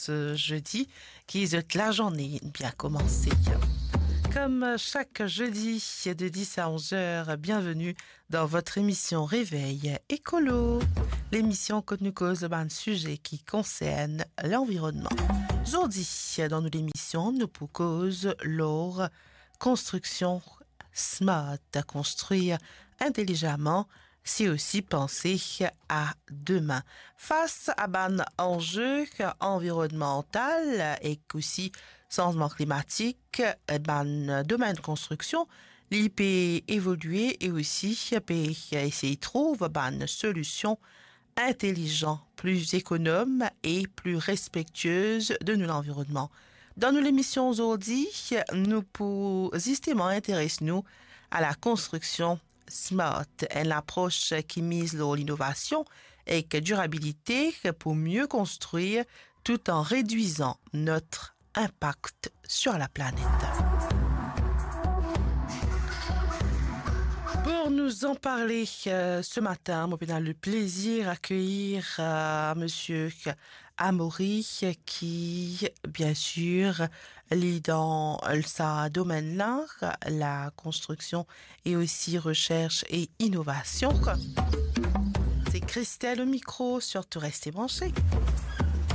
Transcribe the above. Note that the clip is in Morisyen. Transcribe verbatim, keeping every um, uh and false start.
zot, euh, jodi, ki zot lazourne bien koumanse. Comme chaque jeudi de dix à onze heures, bienvenue dans votre émission Réveil Écolo, lemision kot nou koz bann size ki konsern lanvironnman. Zordi, dan nou lemision, nou pou koz lor konstriksion smart, konstrir intelizaman, se osi panse a demin. Fas a bann anze anvironnmantal ek osi sanzman klimatik, bann domenn konstriksion, li pe evolie e osi pe esey trouv bann solision intelizan, pli ekonom e pli respektiez de nou lanvironnman. Dan nou lemision zordi, nou pou zisteman interes nou a la konstriksion smart, enn lapros ki miz lor linovasion ek dirabilite pou mie konstrir tout an redwizan not inpak sur la planet. Pour nous en parler, euh, ce matin, mo pena le plaisir accueillir, euh, monsieur Amaury, qui, bien sûr, li dan sa domenn-la, la konstriksion e osi recherche et innovation. C'est Christelle au micro, surtout restez branchés.